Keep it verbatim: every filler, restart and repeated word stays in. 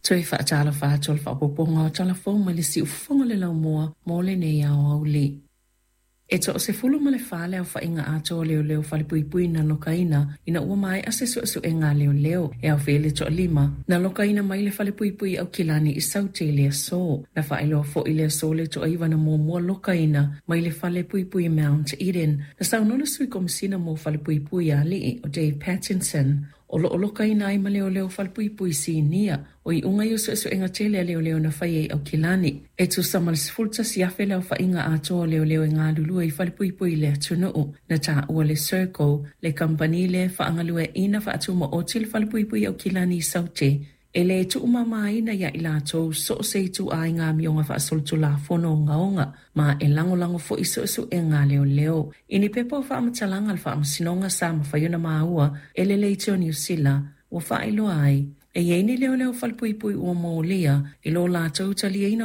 Toe faatalofa atu o le faaopoopoga o Tala Fou mai le Siufofoga o le Laumua mo lenei aoauli. E toasefulu ma le fa le aofaiga atoa o leoleo falepuipui na lokaina ina ua maea se suesuega a leoleo e aofia ai le toalima na lokaina mai le falepuipui Aukilani i Saute i le aso. Na faailoa foi i le aso le toaiva na muamua lokaina mai le falepuipui Mount Eden. Na saunoa le sui komisina mo falepuipui a alii o Dave Pattinson o loo lokaina ai ma leoleo falepuipui sinia o iuga ia o suesuega tele a leoleo na faia i Aukilani. E tusa ma le sefulu tasi afe le aofaiga atoa o leoleo e galulue i falepuipui i le atunuu. Na taua le Serco, le kamupani lea e faagalueaiina faatumaoti le falepuipui Aukilani i Saute, e le tuumamaina ia i latou so o se ituaiga amioga faasolitulafono ogaoga, ma e lagolago foi suesuega a leoleo. I ni pepa o faamatalaga a le faamasinoga sa mafai ona maua e le Leitio Niu Sila, ua faailoa ai, e i ai ni leoleo falepuipui ua molia i lo latou taliaina